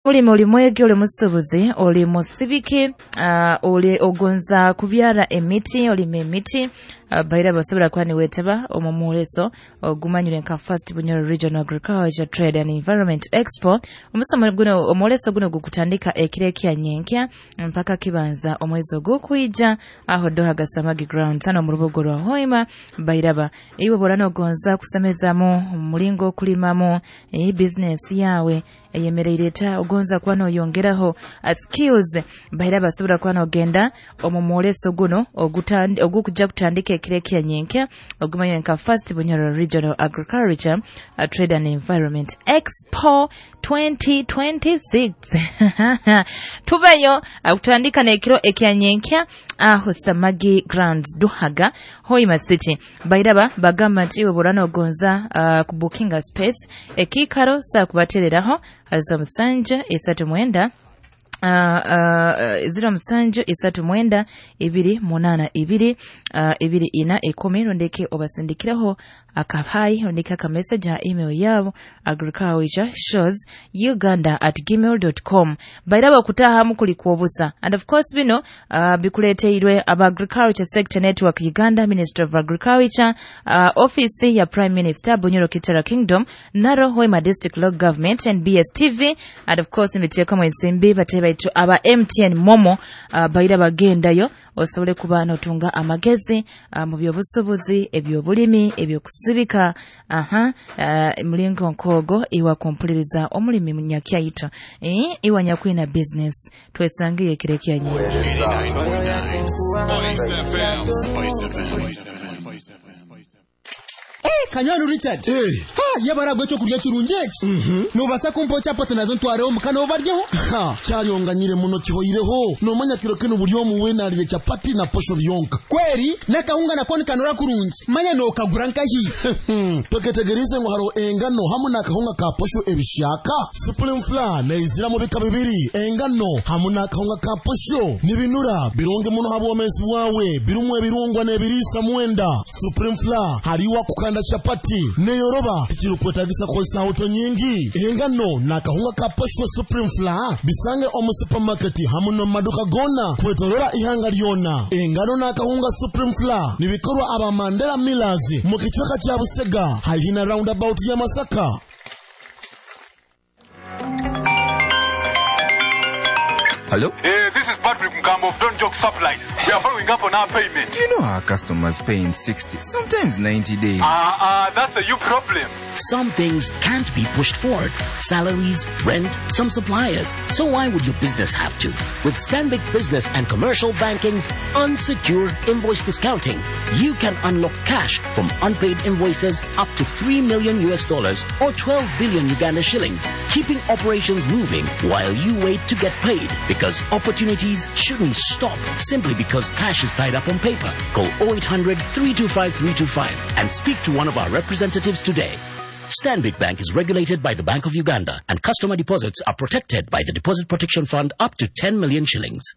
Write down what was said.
Mulimi oli mwegi, oli musubuzi, oli musibiki, oli ogonza kubyara emiti, olima emiti, baira basobora kuba niwetaba omu mwoleso ogumanyire nka First Bunyoro Regional Agriculture Trade and Environment Expo. Omusomo guno, omwoleso guno gukutandika ekiro ekya nyenkya mpaka kibanza omwezi ogukwija aho Doha Gasamagi Grounds hano mu rubuga rwa Hoima. Bairaba iwe borana ogonza kusemezamu omulingo okulimamu business yawe eyemereire eta, ogonza kuba noyongeraho skills, bairaba basobora kuba nogenda omu mwoleso guno ogukujja kutandika ekiro ekya nyenkya ogumanyire nka First Bunyoro Regional Agriculture Trade and Environment Expo 2026. Tubeyo kutandika n'ekiro ekya nyenkya aho Samagi Grounds Duhaga Hoima City. Bairaba bagamba nti iwe borana ogonza kubukinga space ekikaro saa kubatereraho 07 39 07 39 282 24 10, rondeke obasindikiraho akahayi, rondeke akameseji ha email yabo agricultureshowsuganda@gmail.com. Bairaba okutahamu kuli kwobusa, and of course bino bikuleteirwe aba Agriculture Sector Network Uganda, Ministry of Agriculture, Office ya Prime Minister, Bunyoro Kitara Kingdom, Naro Hoima District Local Government, NBS TV, and of course miteekamu ensimbi bate baitu aba MTN Momo. Baira bagendayo osobole kuba notunga amagezi mu byobusubuzi, ebyobulimi, ebyokusibika, mulingo nkogo iwa kumpuliriza omulimi munyakyaito iwa nyakwina business twesangiye ekiro ekya nyenkya. 89.9 Spice FM. Spice FM. Kanywani Richard. Ha, yabara ekyokurya kirungi eki. Nobasa kumpa chapati nazo ntwareho omuka nobaryeho? Ha, kyaryonganyire muno kihoireho. Nomanya kiro kinu buli omu weena alire chapati na posho byonka. Kweri n'akahunga nako nikanura kurungi. Manya nokagura nkahi. Toketegerize ngu hariho engano hamu n'akahunga ka posho ebishyaka. Supreme Flour neizira mu bika bibiri, engano hamu n'akahunga ka posho. Nibinura birungi muno ha bwomezi bwawe, birumu ebirungwa n'ebiriisa mwenda. Supreme Flour hariwa kukanda chapati neyoroba, tikirukwetagisa kukozesa auto nyingi. Engano n'akahunga ka posho Supreme Flour bisange omu supermarket hamu n'omu maduka gona kwetorora ihanga lyona. Engano n'akahunga Supreme Flour nibikorwa aba Mandela Millers mu kicweka kya Busega haihi na roundabout ya Masaka. Hello? This is Patrick Mkambo of Don't Joke Supplies. We are following up on our payment. You know our customers pay in 60, sometimes 90 days. That's a you problem. Some things can't be pushed forward. Salaries, rent, some suppliers. So why would your business have to? With Stanbic Business and Commercial Banking's unsecured invoice discounting, you can unlock cash from unpaid invoices up to $3 million US or 12 billion Uganda shillings, keeping operations moving while you wait to get paid. Because opportunities shouldn't stop simply because cash is tied up on paper. Call 0800 325 325 and speak to one of our representatives today. Stanbic Bank is regulated by the Bank of Uganda, and customer deposits are protected by the Deposit Protection Fund up to 10 million shillings.